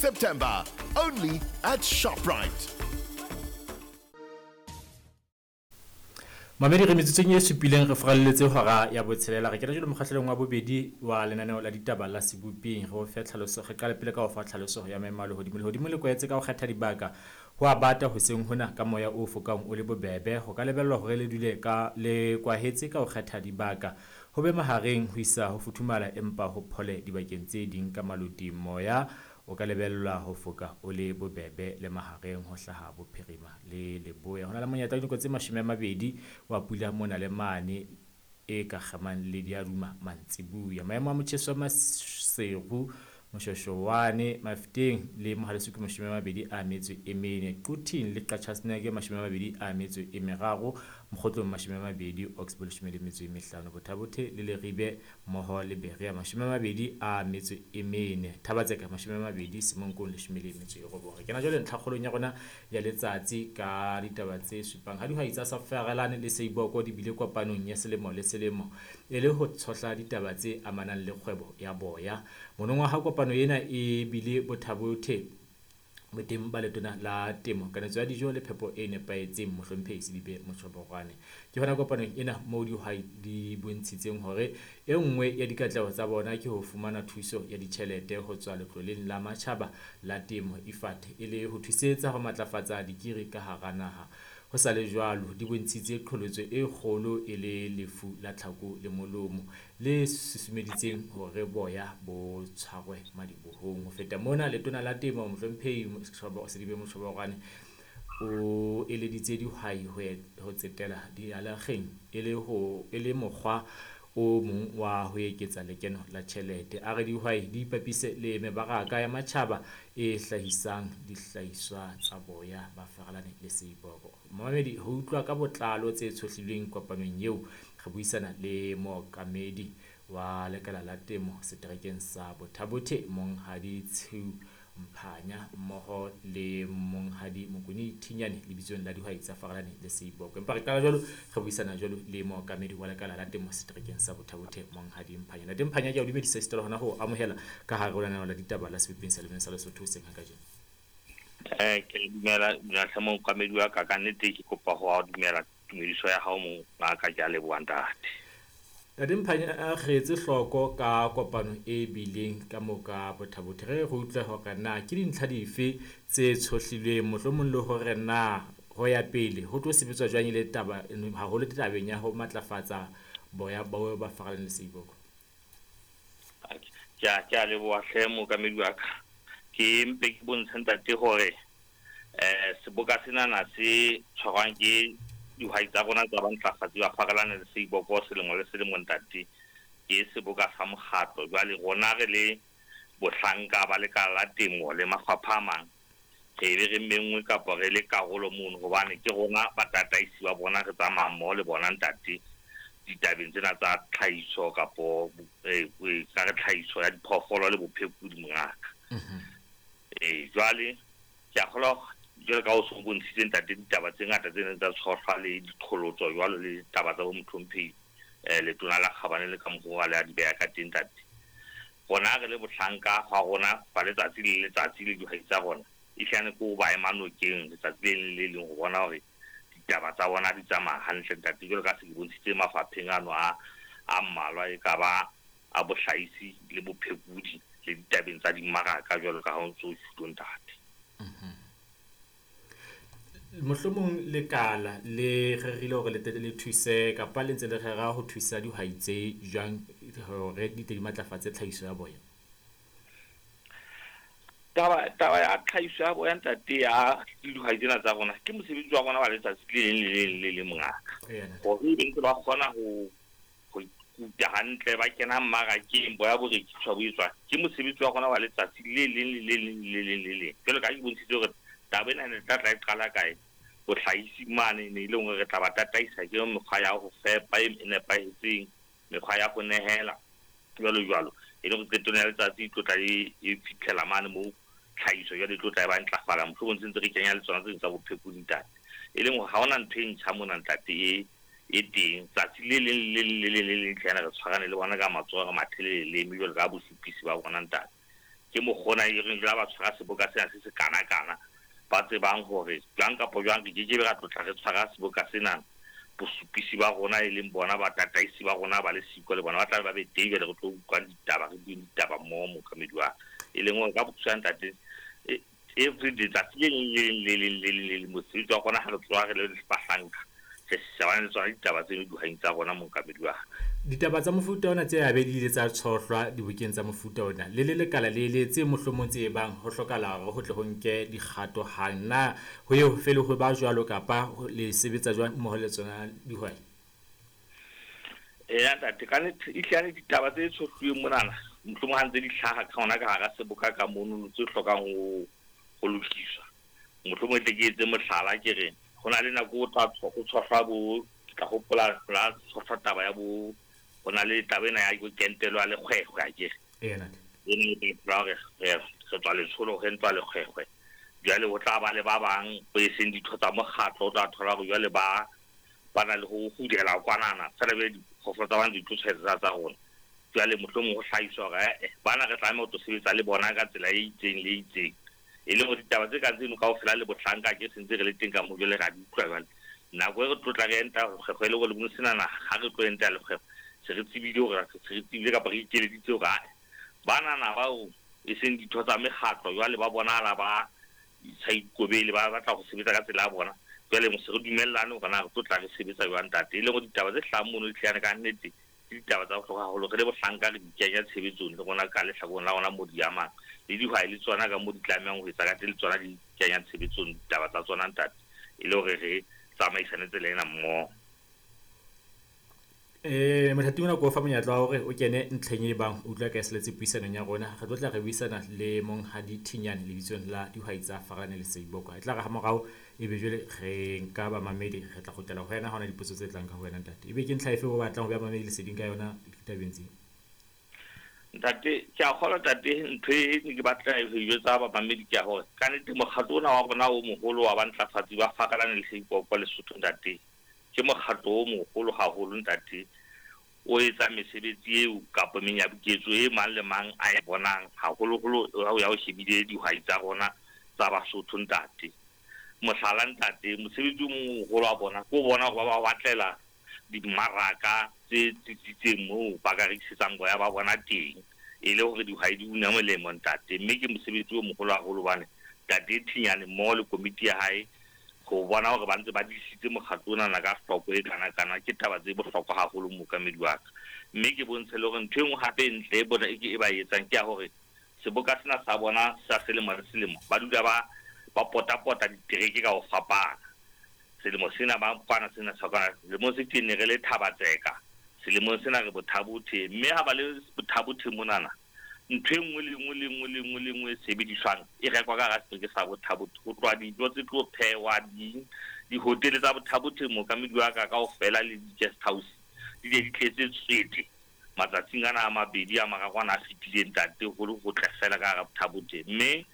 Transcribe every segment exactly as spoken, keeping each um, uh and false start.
September, only at ShopRite. Mamedi re metsotsong e supileng re furalletse hora ya botshelela. Re kena jwale mokgahlelong wa bobedi wa lenaneo la ditaba la Seboping. Re o fe tlhaloso, re qale pele ka ho fa tlhaloso ya maemo a lehodimo. Lehodimo le kwetse ka ho kgetha dibaka ho a bata hoseng hona ka moya o fokang o le bobebe. Ho ka lebellwa hore le dule ka le kwahetse ka ho kgetha dibaka. Ho be mahareng ho isa ho futhumala empa ho phole dibakeng tse ding ka maloti. Moya o ka lebellwa ho foka o le bobebe le mahareng ho hlaha bophirima le leboya. Ho na le monyetla wa dinako tse mashome a mabedi wa pula mona le mane e ka kgemang le diaduma mantsibuya. Maemo a motjheso wa Maseru, Moshoshoane, Mafeteng le Mohaleso ke mashome a mabedi a metso e mene, Quthing le Qacha's Nek mashome a mabedi a metso e meraro, Mokgotlong mashome a mabedi, Oxbow leshome le metso e mehlano, Botha-Bothe le Leribe mmoho le Berea mashome a mabedi a metso e mene, Thaba-Tseka mashome a mabedi, Semonkong leshome le metso e robong. Re kena jwale ntlhakgolong ya rona ya letsatsi ka ditaba tse supang. Ha dihwai tsa Safarelane le Seiboko di bile kopanong ya selemo le selemo e le ho tshohla ditaba tse amanang le kgwebo ya boya. Monongwaha kopano ena e bile Botha-Bothe boteng ba letona la temo, kanetso ya dijo le phepo e nepahetseng, mohlomphehi Selibe Mochoboroane. Ke hona kopanong ena moo dihwai di bontshitseng hore e nngwe ya dikatleho tsa bona ke ho fumana thuso ya ditjhelete ho tswa letloleng la matjhaba la temo I F A D e le ho thusetsa ho matlafatsa dikiri ka hara naha. Ho sa le jwalo, di bontshitse qholotso e kgolo e le lefu la tlhako le molomo le susumeditseng hore boya bo tshwarwe madibohong. Ho feta mona, letona la temo mohlomphehi Selibe Mochoboroane o eleditse dihwai ho tsetela dialageng e le ho e le mokgwa o mong wa ho eketsa lekeno la tjhelete. A re dihwai di ipapise le mebaraka ya matjhaba e hlahisang dihlahiswa tsa boya ba Farelane le Seiboko. Momamedi, ho utlwa ka botlalo tse tshohlilweng kopanong eo, re buisana le mookamedi wa lekala la temo seterekeng sa Botha-Bothe, Monghadi Tshiu Mphanya, mmoho le Monghadi Mokone Thinyane lebitsong la dihwai tsa Farelane le Seiboko. Empa re qala jwalo, re buisana jwalo le mookamedi wa lekala la temo seterekeng sa Botha-Bothe, Monghadi Mphanya. Ntate Mphanya, ke a o dumedisa esita le hona ho amohela ka hare ho lenaneo la ditaba la Seboping sa Lemeng sa Lesotho hoseng ha kajeno. Eh, ke dumela dumela mookamedi wa ka, ka nnete ke kopa ho dumela tumediso ya hao mongaka, ke a leboha ntate. Ntate Mphanya, re etse hloko ka kopano e bileng ka moo ka Botha-Bothe. Re re utlwe hore na ke dintlha dife tse tshohlilweng, mohlomong le hore na ho ya pele ho tlo sebetswa jwang le taba haholo tabeng ya ho matlafatsa boya ba ba Farelane le Seiboko. Ke a ke a leboha hle mookamedi wa ka. Ke mpe ke bontshe ntate hore eh seboka senana se tshwarwang ke dihwai tsa rona tsa bantlafatsi ba Farelane le Seiboko selemo le selemo ntate, ke seboka sa mokgatlo. Jwale rona re le bohlanka ba lekala la temo le mafapha a mang, re be re menngwe kapa re le karolo mono, hobane ke rona batataisi ba bona, re tsamaya mmoho le bona ntate ditabeng tsena tsa tlhahiso kapo ka re tlhahiso ya diphoofolo le bophekodi mongaka. Eh jwale ke a kgolwa jwalo ka o so bontshitse ntate ditaba tse ngata tse neng tsa tshohlwa le diqholotso jwalo le ditaba tsa bo mohlomphehi eh letona la kgabane le ka mokgwa le a di beha ka teng ntate. Rona re le bohlanka hwa rona ba letsatsi le letsatsi le dihwai tsa rona, e hlane ko ba ema nokeng letsatsi le leng le leng ho bona hore ditaba tsa bona di tsamaya hantle ntate. Jwalo ka se ke bontshitse mafapheng ano a a mmalwa e ka ba a bohlahisi le bophekodi le ditabeng tsa dimmaraka jwalo ka ha o ntso o tjhuto ntate. Mohlomong lekala le rerile hore le tle le thuse kapa le ntse le rera ho thusa dihwai tse jwang hore di tle di matlafatse tlhahiso ya boya? Taba taba ya tlhahiso ya boya ntate ya dihwai tsena tsa rona ke mosebetsi wa rona wa letsatsi le leng le leng le leng mongaka. Hore ebe ntse ba kgona ho ho ikuta hantle, ba kena mmarakeng, boya bo rekiswa bo etswa, ke mosebetsi wa rona wa letsatsi le leng le le leng le leng le leng. Jwalo ka ha ke bontshitse hore taba ena ne tla tla e qala kae bohlahisi mane, ne e le hore re tla ba tataisa ke mekgwa ya ho fepa e nepahetseng, mekgwa ya ho nehela jwalo jwalo, e le hore qetong ya letsatsi e tlo tla e e fitlhela mane moo tlhahiso jwale e tlo tla e ba ntlafala. Mohlomong se ntse re kenya le tsona tse ding tsa bophekodi ntate, e leng hore ha hona ntho e ntjha mona ntate e e teng. Tsatsi le leng le leng le leng le leng tlhana re tshwarane le bona ka matsoho, re mathele leleme jwalo ka bosupisi ba bona ntate. Ke mokgona e reng jwale ba tshwara seboka sena se se kana-kana, ba tsebang hore jwang kapa jwang re kekebe ra tlotla re tshwara seboka sena. Bosupisi ba rona e leng bona batataisi ba rona ba le siko le bona ba tla ba be teng, jwale re tlo utlwang ditaba, re bueng ditaba mmoho mookamedi wa ka. E leng hore ka bokgutshwane ntate, every letsatsi le leng le leng le leng le leng le leng mosebetsi wa rona ha re tsoha re le bahlanka, re shebane le tsona ditaba tseno dihwai tsa rona mookamedi wa ka. Ditaba tsa mofuta ona tse abe di ile tsa tshohlwa dibokeng tsa mofuta ona le le lekala le le tse mohlomong tse bang ho hlokahala hore ho tle ho nke dikgato hang, na ho ye ho fele ho ba jwalo kapa le sebetsa jwang mmoho le tsona dihwai? Eya ntate, ka nnete ehlile ditaba tse tshohluweng monana mohlomong ha ntse di hlaha ka hona ka hara seboka ka mono tse hlokang ho ho lokiswa. Mohlomong e tle ke etse mohlala, ke re ho na le nako o tla ho tshohlwa bo, ke tla hopola la tshohlwa taba ya bo, ho na le taba ena ya kentelo ya lekgwekgwe akere. Eya ntate. E ne e tla hore re re tswa letsholo re ntwa lekgwekgwe. Jwale ho tla ba le ba bang bo e seng ditho tsa mokgatlo, o tla thola hore jwale ba ba na le ho hudela kwanana fela be diphoofolo tsa bona di tlo tshwaetsa tsa rona. Jwale mohlomong ho hlahiswa hore eh bana re tlameha ho tlo sebetsa le bona ka tsela e itseng le e itseng. E leng hore ditaba tse kang tseno kaofela le bohlanka ke sentse re le teng ka moo jwale ra di utlwa jwale. Nako e re tlotla re enta lekgwekgwe e le hore le senana ha re tlo enta lekgwekgwe, se re tsebile hore se re tsebile kapa re ikeleditse hore ae banana bao e seng ditho tsa mekgatlo jwale ba bonahala ba sa ikobele, ba batla ho sebetsa ka tsela ya bona. Jwale se re dumellane hore na re tlo tla re sebetsa jwang ntate. E leng hore ditaba tse hlahang mono di hlahane ka nnete ke ditaba tsa bohlokwa haholo. Re le bohlanka re di kenya tshebetsong le rona ka lehlakoreng la rona mo di amang, le dihwai le tsona ka mo di tlamehang ho etsa ka teng, le tsona di kenya tshebetsong ditaba tsa tsona ntate, e le hore re tsamaisane tsela ena mmoho. Eh mothati ona ko fa monyetla wa hore o kene ntlheng e bang o utlwa ka seletse puisanong ya rona. Re tlo tla re buisana le monghadi Thinyane lebitsong la dihwai tsa Farane le Seiboko. E tla re ha morao ebe jwale re nka bamamedi, re tla kgutlela ho wena ha hona dipotso tse tlang ka ho wena ntate. Ebe ke ntlha efe o batlang ho beha bamamedi leseding ka yona ditabeng tseo? Ntate, ke a kgolwa ntate, ntho e ne ke batla ho e jwetsa bamamedi ke ya hore ka nnete mokgatlo ona wa rona o moholo wa bantlafatsi ba Farane le Seiboko Lesotho ntate, ke mokgatlo o moholo haholo ntate, o etsa mesebetsi eo kapa menyabuketso e mang le mang a e bonang haholoholo ha o ya o shebile dihwai tsa rona tsa Basotho ntate. Mohlala ntate, mosebetsi o moholo wa bona ke o bona hore ba ba batlela dimmaraka tse tsitsitseng moo ba ka rekisetsang boya ba bona teng, e le hore dihwai di una molemo ntate. Mme ke mosebetsi o moholo haholo hobane ntate Thinyane mmoho le komiti ya hae ho bona hore ba ntse ba disitse mokgatlo ona ka hloko e kana-kana ke taba tse bohlokwa haholo mookamedi wa ka. Mme ke bontshe le hore ntho e nngwe hape e ntle e bona e ke e ba etsang ke ya hore seboka sena sa bona sa selemo le selemo ba dula ba ba potapota ditereke ka ho fapana. Selemo sena ba kwana, sena sa kwana, selemong se teng ne re le Thabatseka, selemong sena re Bothabothe. Mme ha ba le Bothabothe monana, ntho e nngwe le nngwe le nngwe le nngwe le nngwe e sebediswang e rekwa ka hara setereke sa Bothabothe. Ho tloha dijo tse tlo phehwa ding, dihotele tsa Bothabothe mookamedi wa ka kaofela le di-guest house di ne di tletse tswete matsatsing ana a mabedi a mararo ana a fetileng ntate, ho le hotle fela ka hara Bothabothe. Mme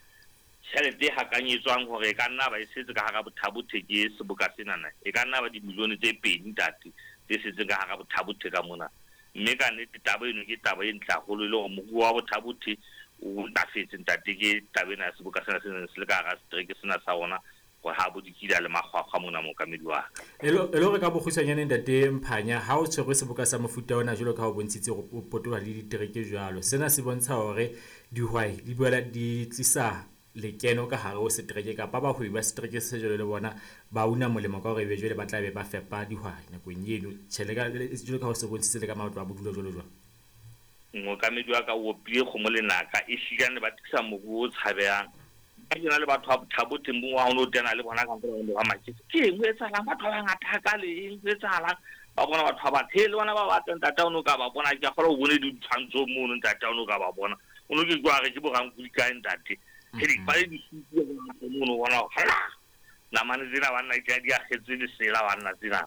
tjhelete e hakanyetswang hore e ka nna ba e setse ka hara Bothabothe ke seboka senana, e ka nna ba dimilione tse pedi ntate tse setseng ka hara Bothabothe ka mona. Mme ka nnete taba eno ke taba e ntle haholo, e le hore moruo wa Bothabothe o ntlafetse ntate ke taba ena ya seboka sena se neng se le ka hara setereke sena sa rona, hore ha bo dikila le makgwakgwa mona mookamedi wa ka. E le hore ka bokgutshwanyane ntate Mphanya, ha o tshwerwe seboka sa mofuta ona jwalo ka ha o bontshitse hore o potoloha le ditereke jwalo, sena se bontsha hore dihwai di boela di tlisa lekeno ka hare ho setereke, kapa bahwebi ba setereke se jwalo le bona ba una molemo ka hore ebe jwale ba tla be ba fepa dihwai nakong eno. Tjhe, le ka jwalo ka ha o se bontshitse le ka matlo a bodulo jwalo jwalo. Mookamedi wa ka o opile kgomo lenaka, ehlile ba tlisa moruo o tshabehang. Ka ke na le batho ba Bothabothe mo wa o no tena le bona ka ntle ba maketse. Ke eng ho etsahalang? Batho ba bangata hakale, eng ho etsahalang? Ba bona batho ba batho, le bona ba batlang ntate o no ka ba bona, ke a kgolwa o bone ditshwantsho mono ntate o no ka ba bona. O no ke kwa re ke borankuli kae ntate. Ke ba le disutu mono bona hala. Namane tsena banna ke di akgetse lesela banna tsena.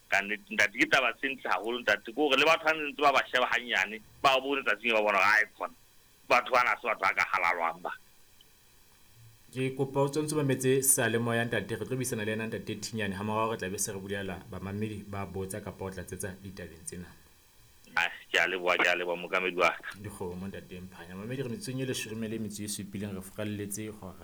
Ka nnete ntate ke taba tse ntle haholo ntate, ke hore le batho ba ntse ba ba sheba hanyane, ba bone tsatsing ba bona ai khona. Batho bana se batho ba ka halalwang ba. Ke kopa o tsontso mametse seyalemoya ntate, re tlo buisana le yena ntate Thinyane ha morao re tla be se re bulela bamamedi ba botsa kapa o tlatsetsa ditabeng tsena. Ai. Ke a leboha, ke a leboha mookamedi wa ka. Dikgomo ntate Mphanya. Mamedi re metsotsong e leshome le metso e supileng re furalletse hora